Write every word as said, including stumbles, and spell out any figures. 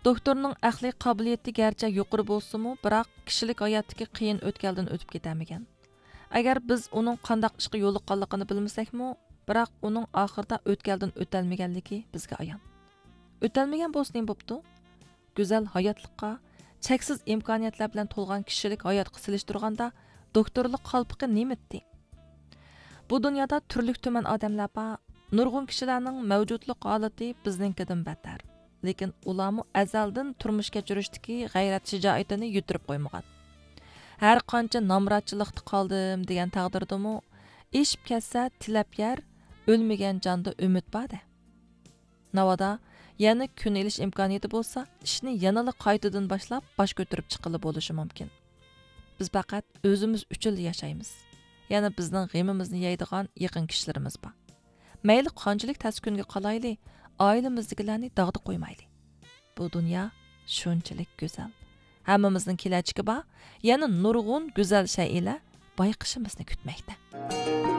دوكتورنىڭ ئەقلىي قابىلىيىتى گەرچە يۇقىرى بولسىمۇ، بىراق كىشىلىك ھاياتتىكى قىيىن ئۆتكەلدىن ئۆتۈپ كېتەلمىگەن. ئەگەر بىز ئۇنىڭ قانداق ئىشقا يولۇققانلىقىنى بىلمىسەكمۇ، بىراق ئۇنىڭ ئاخىرىدا ئۆتكەلدىن ئۆتەلمىگەنلىكى بىزگە ئايان. ئۆتەلمىگەن بولسا نېمە بوپتۇ؟ گۈزەل ھاياتلىققا، چەكسىز ئىمكانىيەتلەر بىلەن تولغان كىشىلىك ھاياتقا سېلىشتۇرغاندا، دوكتورلۇق قالپىقى نېمىتتى؟ بۇ دۇنيادا تۈرلۈك تۈمەن ئادەملەر بار. نۇرغۇن كىشىلەرنىڭ مەۋجۇتلۇق ھالىتى بىزنىڭكىدىن بەتتەر. لېكىن ئۇلارمۇ ئەزەلدىن تۇرمۇش كەچۈرۈشتىكى غەيرەت شىجائىتىنى يىتىرىپ قويمىغان. ھەر قانچە نامراتچىلىقتا قالدىم دېگەن تەقدىردىمۇ، ئېشىپ كەتسە تىلەپ يەر، ئۆلمىگەن جاندا ئۈمىد بار-دە. ناۋادا يەنە كۈن ئېلىش ئىمكانىيىتى بولسا، ئىشنى يەنىلا قايتىدىن باشلاپ، باش كۆتۈرۈپ چىققىلى بولۇشى مۇمكىن. بىز پەقەت ئۆزىمىز ئۈچۈنلا ياشايمىز. يەنە بىزنىڭ غېمىمىزنى يەيدىغان يېقىن كىشىلىرىمىز بار. مەيلى قانچىلىك تەس كۈنگە قالايلى، ئائىلىمىزدىكىلەرنى داغدا قويمايلى. بۇ دۇنيا شۇنچىلىك گۈزەل. ھەممىمىزنىڭ كېلەچىكى بار، يەنە نۇرغۇن گۈزەل شەيئىلەر بايقىشىمىزنى كۈتمەكتە.